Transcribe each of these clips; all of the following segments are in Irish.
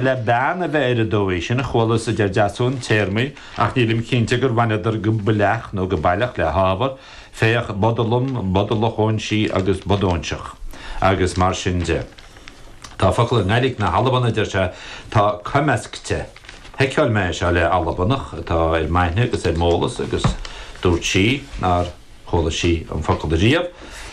Le bean a bheith ar an dóigh sin, chualas, a deir Deasún, téarmaí, ach nílim cinnte gur bhaineadar go baileach nó go baileach le hábhar, féach bodalum, bodalach óinsí agus bodóinseach, agus mar sin de. Tá focal i nGaidhlig na hAlban, a deir sé, tá coimeascte. Sheiceáil mé é seo le Albanach atá ar m'aithne agus ar m'eolas agus dúirt sí nár. chuala sí an focal ariamh,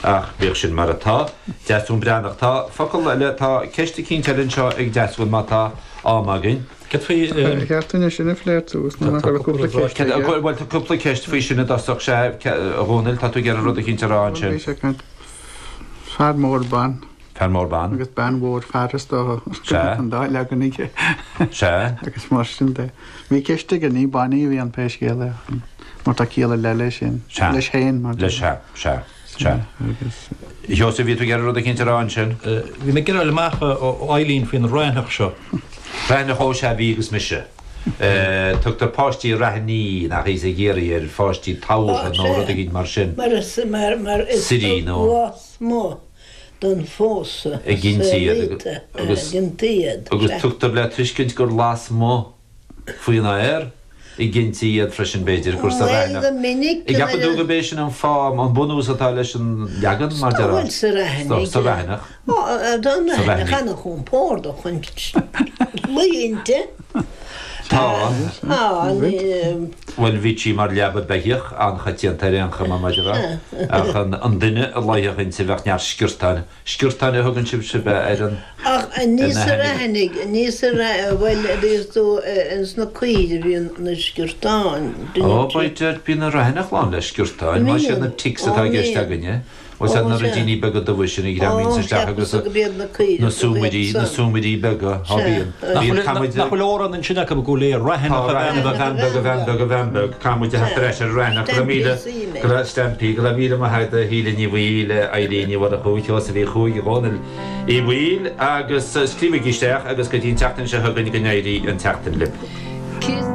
ach bíodh sin mar atá. Deasún Breathnach. Tá focal eile, tá ceist eicínt eile anseo ag Deasún, má tá am againn. Cad faoi. Ar cheart dúinn é sin a phlé ar dtús nó nach raibh cúpla ceist aige? Bhuel, tá cúpla ceist faoi sin i dtosach, sea, a Dhónaill, tá tú ag iarraidh rud eicínt a rá ansin. Bhuel, bhí sé ag caint fear mór ban. Fear mór ban. Agus bean mhór fear is dócha. Sea. An dá leagan aige. Sea. Agus mar sin de. Bhí ceist aige, ní bannaí a bhí ann pé scéal é, mar tá ciall ar leith leis sin. Sea. Leis féin, mar. Leis, sea, sea, sea. Agus. A Sheosaimh, bhí tú ag iarraidh rud eicínt a rá ansin? Bhí mé ag iarraidh fháil amach ó Eileen faoin raithneach seo. Raithneach, ó sea, bhí agus mise. Tugtar páistí raithní, nach í, i gCiarraí ar pháistí tabhartha nó rud eicínt mar sin. Mar is, mar, mar is Suirí nó. lasmuigh don phósadh a gintí iad agus gintí iad. Agus tugtar le tuiscint gur lasmuigh faoin aer a gintí iad freisin, b'fhéidir, gur sa Bhuel, raithneach. go minic An gceapann tú gurb é sin an fáth, an bunús atá leis an leagan, mar Bhuel, déarfá? sa raithneach. Sa raithneach. Tá an Sa raithneach raithneach. an-chompordach chun luí inti. Tá. Tá, ní. Bhuel, bhí sí mar leaba beithíoch, an-choitianta ar aon chuma, mar déarfá. Ach an duine a luífeadh inti bheadh neart sciortáin. Sciortáin a thugann sibhse ar an. Ach ní ar na sa hainmhithe. raithnigh, ní sa raith, bhuel, is dóigh ins na coill a bhíonn na sciortáin. Ó, b'fhéidir, bíonn an raithneach lán le sciortáin, más iad na ticks atá i gceist againne. Bhuel, sea, na ruidíní beaga dubha sin a ghreamaíonns isteach agus na súmairí, na súmairí beaga, á bíonn. Bíonn, caithfidh muid. Nach bhfuil amhrán ansin acu i gCúil Aodha, Raithneach Tá, a bhean Raithneach a bhean beag, a bhean beag, a bhean beag. Caithfidh muid a theacht ar ais ar Raithneach, go raibh míle, go raibh, Stampy, go raibh míle maith agat a Shíle Ní Bhaoill, a Eilín Ní Mhurchú, Sheosaimh Uí Chuaig, a Dhónaill Uí Bhaoill agus scríobhaigí isteach agus go dtí an tseachtain seo chugainn go n-éirí an tseachtain libh.